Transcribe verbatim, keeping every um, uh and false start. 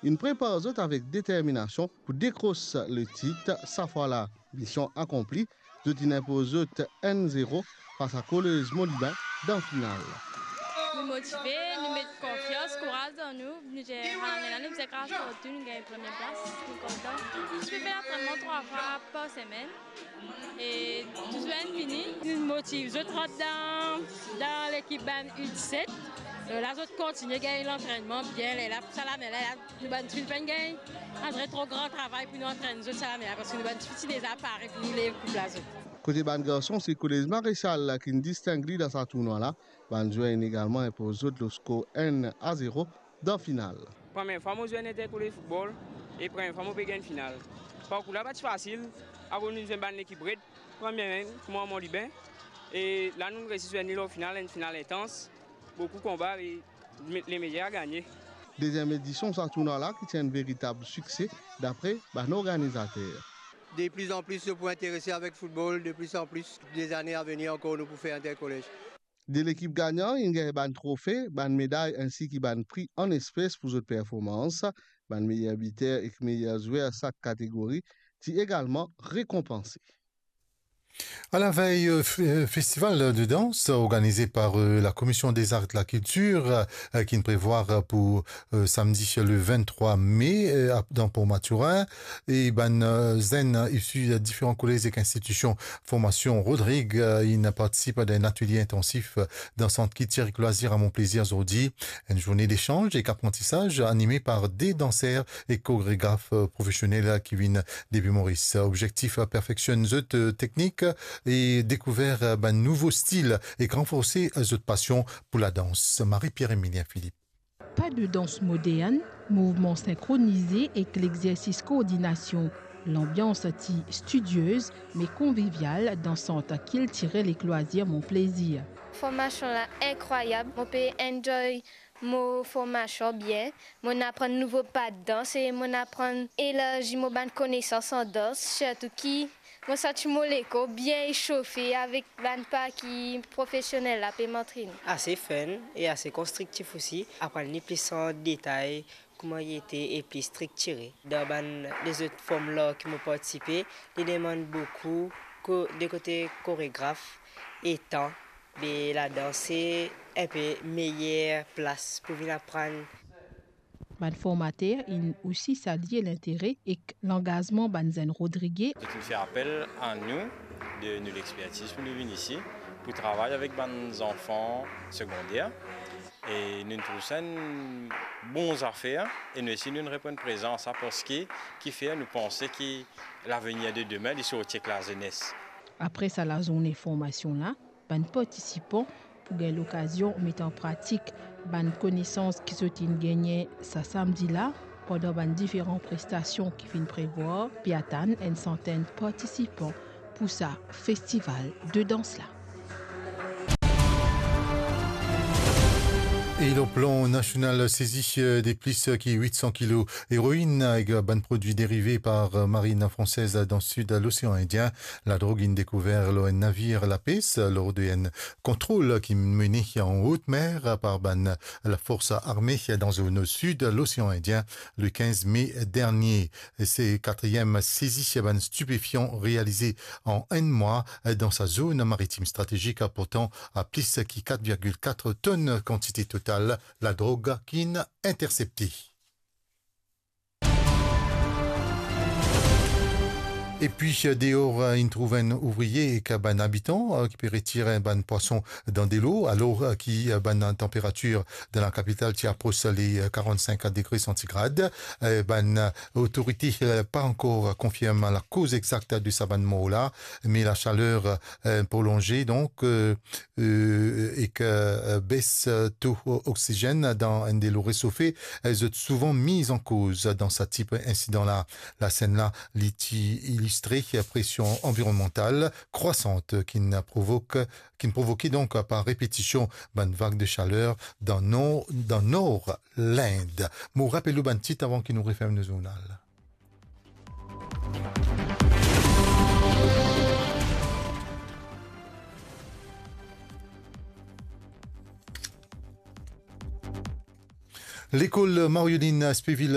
inn prepar zot avek determinasion pou dekros le tit sa fwa la. Mision akonpli, zot inn inpoz zot enn zero fas a Kolez Molibin dan final. Nou motive, nou met konfians, kouraz dan nou. Nou dir, lalane la, nou bizin gras partou, nou gagn premie plas, nou kontan. Nou pe fer lantrenman trwa fwa par semenn. E tou zwenn fini. Nou motiv zot rant dan, dan lekip bann U disset. E la, zot kontigne gagn lantrenman bien. Lerla, sa lane la, la, nou bann tifi finn gagn, antre tro gran travay pou nou antrenn zot sa lane la, parski nou bann tifi ti deza pare pou nou lev koup la zot. Kote bann garson, se Kolez Maresal la ki'nn disteng li dan sa tournwa la. Bann zwer inn egalman inpoz zot lor skor enn a zero dan final. Premie fwa mo zwe enn interkolez foutbol e premie fwa mo pe gagn final. Parkour la pa ti fasil, akoz nou zwenn bann lekip red, premie mem, kouma Molibin, e la nou resi zwenn li lor final, enn final intans, boukou konba e me-, lemeyer a gagne. Deziem edision sa tournwa la ki ti enn veritab sikse, dapre bann organizater. De plus en plus nou pou interese avek foutbol, de plus en plus, dezane a venir ankor nou pou fer interkolez. De lekip gagnan inn gagn bann trofe, bann meday insi ki bann pri an espes pou zot performans. Bann meyer biter ek meyer zwer sak kategori ti egalman rekonpanse. À la veille, euh, f-, euh, festival de danse organisé par, euh, la Commission des Arts et de la Culture, euh, ki'nn prevwar, euh, pou, euh, samedi le vingt-trois mai, euh, à, dans Port Mathurin, e bann, euh, zenn isi diferan kolez ek institision formasion Rodrig, euh, inn partisip a enn atelie intansif, euh, dan Sant Kiltir ek Lwazir a Mon Plezir zordi. Enn zourne desanz ek aprantisaz anime par de danser e koregraf, euh, profesionel ki vinn depi Moris. Objektif, euh, perfeksionn zot, euh, teknik e dekouver, euh, bann nouvo stil ek ranforse, euh, zot pasion pou ladans. Marie-Pierre Emilien Philippe. Pas de danse moderne, mouvement synchronisé ek lexersis koordinasion. Lanbians ti studieuse, me konvivial dan Sant Kiltirel ek Lwazir Mon Plezir. Formasion la inkrwayab, mo pe enjoy mo formasion bien, mo'nn aprann nouvo pa dans e mo'nn aprann elarzi mo bann konesans an dans, sirtou ki mo santi mo lekor bien esofe avek bann pa ki profesionel la pe mantrene. Ase fun e ase konstriktif osi, aprann li plis an detay kouma li ete e pli striktire. Dan bann lezot form lar ki mo partisipe, li demann boukou ko-, de kote koregraf e tan, me ladans se enpe meyer plas pou vinn aprann. Bann formater inn osi salie lintere ek langazman bann zenn Rodrige. Zot inn fer apel a nou, de nou lexpertiz pou nou vinn isi, pou travay avek bann zanfan segonder. E nou trouv sa enn bon zafer, e nou osi nou reponn prezan a sa, parski kifer nou panse ki lavenir de demin li sorti ek lazenes. Apre sa lazourne formasion la, bann partisipan pou gagn lokazion met an pratik bann konesans ki zot inn gagne sa samdi la, pandan bann diferan prestasion ki finn prevwar, pe atann enn santenn partisipan pou sa festival de dans la. E lor plan nasional, sezi, euh, de plis ki wit san kilo eroin ek bann prodwi derive par Marine Française dan sid Losean Indien. Ladrog inn dekouver lor enn navir lapes lor de enn kontrol ki mene an hot mer par bann lafors arme dan zone sid Losean Indien le kinz me dernie. Se katriem sezi bann stipefian realize an enn mwa dan sa zone maritim stratezik, aportan a plis ki kat virgil kat tonn kantite total ladrog ki'nn intersepte. Epi, deor, inn trouv enn ouvrie ek bann abitan ki pe retir bann pwason dan delo, alor ki bann tanperatir dan lakapital ti apros le karant-sink degre santigrad. Bann otorite pa ankor konfirm lakoz exakt de sa bann mor la, me lasaler prolonze, donk, ek bes to oksizenn dan enn delo resofe, zot souvan miz an koz dan sa tip insidan la. Lasenn la, li ti ilistre presion anvironnmantal krwasan ki'nn provok, ki'nn provoke donk par repetision bann vag de saler dan nor, dan nor Lind. Mo rapel ou bann tit avan ki nou referm nou zournal. Lekol Marieline Spéville